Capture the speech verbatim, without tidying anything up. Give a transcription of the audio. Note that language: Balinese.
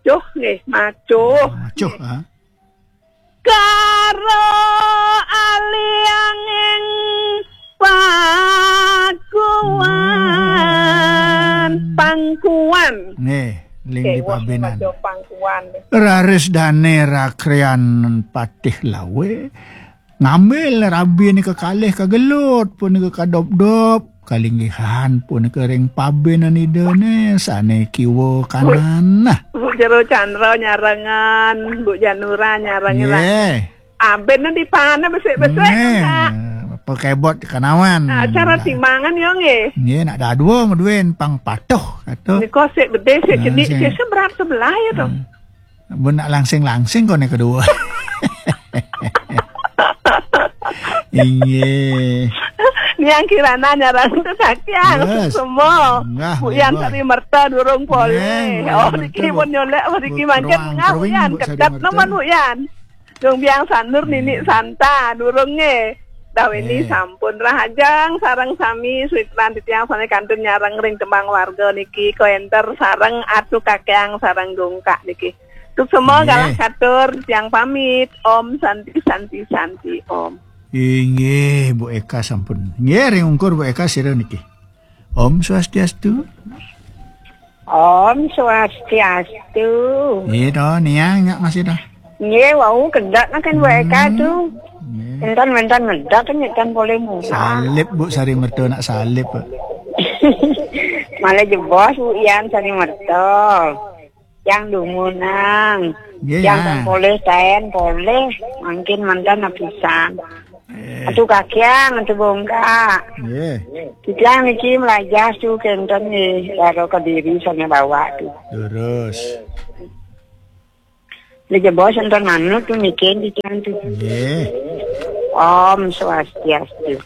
macuh nggih, macuh. Macuh, ha? Karo alianging pakuan, pangkuan. Nggih, ling di Kéweh pabenan. Maca pangkuan. Raris dane rakrean patih lawe, ngambil rabi nika kalih kagelut, punika kadop-dop, kalinggihan punika ring pabenan idane sane kiwa kanan. Nah. Bu Jero Chandra nyarengan, Bu Janura nyarengan. Nggih. Aben di pana besik-besik, nggih, Kak. Pakebot kanawan. Acara timangan yo nggih. Nggih, nak dadua ngeduin pang patuh kata. Nika sik bedih, sik cenik, sik seberat sebelah ya to. Hmm. Mun nak langsing-langsing kone kedua. Inggih. Niang Kirana nyarang tu sakiang semua. Enggak, Bu Yan Sari Merta durung poleh. Oh, niki pun nyolek, niki mangkin ngah Bu Yan. Kedat nemen Bu Yan. Dong biang sandur nini santa durung nge. Dah ini sampun rahajang sarang sami suitran titiang sane kantun nyarang ring tembang warga niki ko enter sarang atu kakeang sarang dongkak niki. Tuk semua galah katur, tiang pamit. Om Santi, Santi, Santi, Om. Inggih, Bu Eka sampun. Nggih, ring ungkur Bu Eka sira niki. Om Swastiastu. Om Swastiastu. Nggih to, niang nyak masih to. Nggih, wau kedak kan Bu Eka tu. Nggih. Entan mentan ngedak kan nyetan boleh muka. Salib Bu Sari Merta nak salib. Malah jebos Bu Yan Sari Merta. Yang dumunang. Nggih, yang poleh taen poleh, mangkin mantan apisan. Eh. Atu kakiang, atu bongkak. Nggih. Titiang niki melajah tu kenten nggih, karo Kediri sane bawa tu. Terus. Lha jebos enten manut tu niki titiang tu. Nggih. Om Swastiastu.